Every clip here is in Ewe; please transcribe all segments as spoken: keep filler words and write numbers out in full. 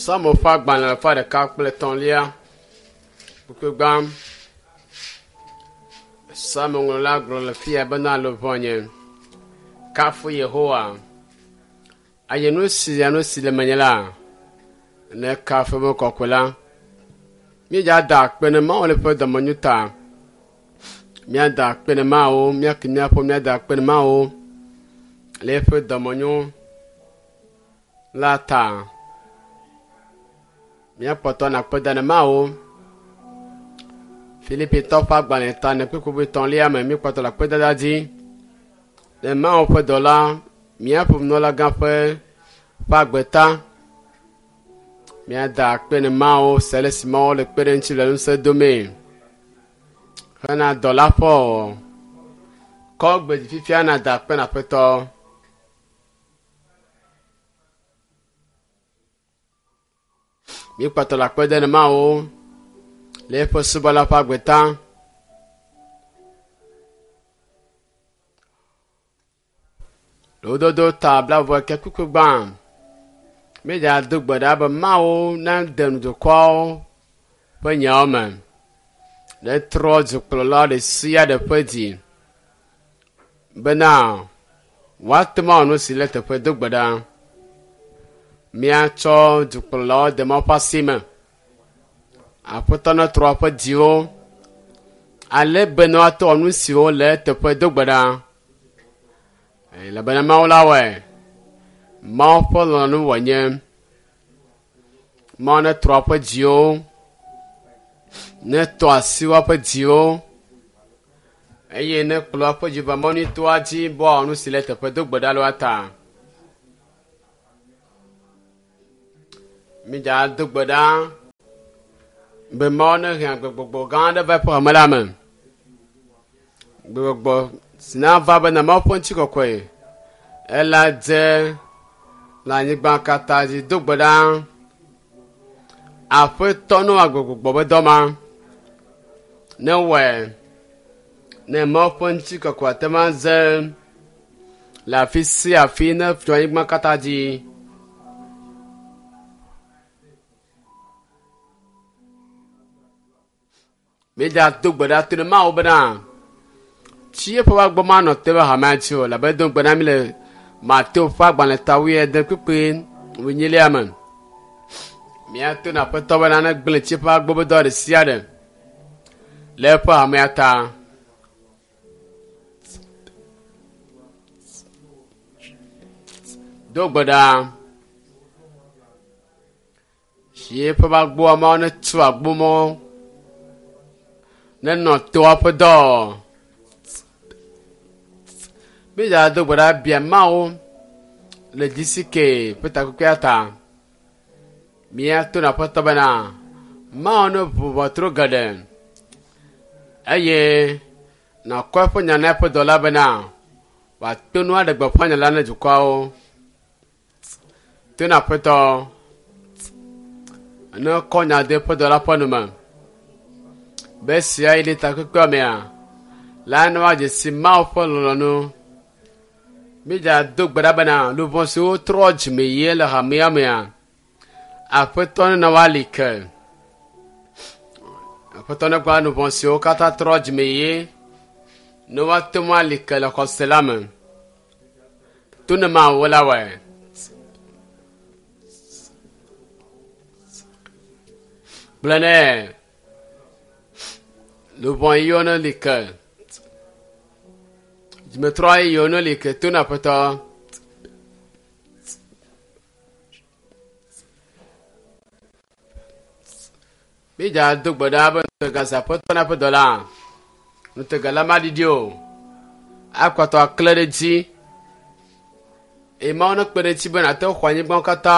Psalmo ƒe agbalẽ alafa ɖeka kple etɔ̃lia. Kpukpui gbã. Psalmo ŋlɔla gblɔ le fia bena luʋɔnye kafu Yehowa. Eye nu sia nu si le menye la, ne kafu eƒe kɔkɔe la. Míedza da akpe ne Mawu le eƒe dɔmenyo ta. Míada akpe ne Mawu, míake míaƒe míada akpe ne Mawu le eƒe dɔmenyo la ta. Míakpɔtɔ na akpe da ne Mawu. Filipitɔ ƒe agbalẽ ta ne kpukpui etɔ̃lia me míekpɔtɔ le akpedada dzi. Le Mawu ƒe dɔla, míaƒe nunɔlagã ƒe ƒe agbe ta. Míada akpe ne Mawu se ale si Mawu le kpe ɖe ŋuti le ŋusẽ domee. Hena dɔla ƒe wɔwɔ. Kɔ gbe dzi fifia nàda akpe na Aƒetɔ. Míekpɔtɔ le akpe dem ne Mawu le eƒe subɔla ƒe agbe ta. Lododo ta blaeve ke kpukpui gbã. Míedza do gbe ɖa be Mawu nade nu dukɔawo ƒe nyawo me. Netrɔ dukplɔla ɖe sia ɖe ƒe dzi bena woate ŋu awɔ nu si le teƒe do gbe ɖa. Míatsɔ dukplɔlawo de Mawu ƒe asi me. Aƒetɔ netrɔ woƒe dziwo ale be ne woate wɔ nu siwo le eteƒe do gbe ɖa. Elabena Mawu la wɔe. Mawu ƒe lɔlɔ̃nu wònye. Mawu netrɔ woƒe dziwo, netɔ asi woƒe dziwo eye nekplɔ woƒe dzi va mɔ nyuitɔa dzi be woawɔ nu si le teƒe do gbe ɖa le woa ta. Mídza do gbe ɖa be Mawu nehe agbegbɔgbɔ gã aɖe va eƒe hame la me. Gbegbɔgbɔ si nava bena Mawu ƒe ŋutikɔkɔe ela dze le anyigba katã dzi do gbe ɖa. Aƒetɔ ne wɔ agbegbɔgbɔ be dɔ ma. Ne wɔe ne Mawu ƒe ŋutikɔkɔe ate ŋu aze le afi sia afi ne tso anyigba katã dzi. Míedza do gbe ɖa to ne Mawu bena tsi eƒe agbɔ manɔ te be hamea dzi o elabe edo gbe na mí le Mateo ƒe agbalẽ ta wuiade kpukpui wuinyilia me. Míato na Aƒetɔ bena negblẽ tsi eƒe agbɔ be dɔ ɖe sia ɖe le eƒe hamea ta. Do gbe ɖa. Tsi eƒe agboa Mawu netu agbomɔ nenɔ toa ƒe dɔ. Míedza do gbe ɖa bia Mawu le G C K ƒe takpekpea ta. Míato na Aƒetɔ bena Mawu ne ʋu ʋɔtru geɖe eye nàkɔ eƒe nya na eƒe dɔla bena wòato nu aɖe gbeƒã nya la na dukɔawo. To na Aƒetɔ ne kɔ nya de eƒe dɔla ƒe nu me be sia yi ɖe takpekpea mea la ne woadze si Mawu ƒe lɔlɔ̃nu. Míedza do gbe ɖa bena luʋɔ siwo trɔ dzime yie le hamea mea, Aƒetɔ nena woali ke. Aƒetɔ negba luʋɔ siwo katã trɔ dzime yie ne woate ŋu ali ke le xɔse la me. To ne Mawu la wɔe. Gblɔ nɛ luʋɔ yiwo ne li ke. Dzimetrɔ yiwo ne li ke to na Aƒetɔ. Míedza do gbe ɖa be ŋutega si Aƒetɔ na eƒe dɔla. Ŋutega la maɖiɖi o. Akpɔtɔ akle ɖe edzi. Eye Mawu nekpe ɖe eŋuti be nàte ŋu axɔ anyigbawo katã.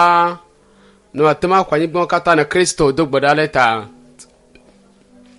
Ne wòate ŋu axɔ anyigbawo katã ne Kristo do gbe ɖa le ta.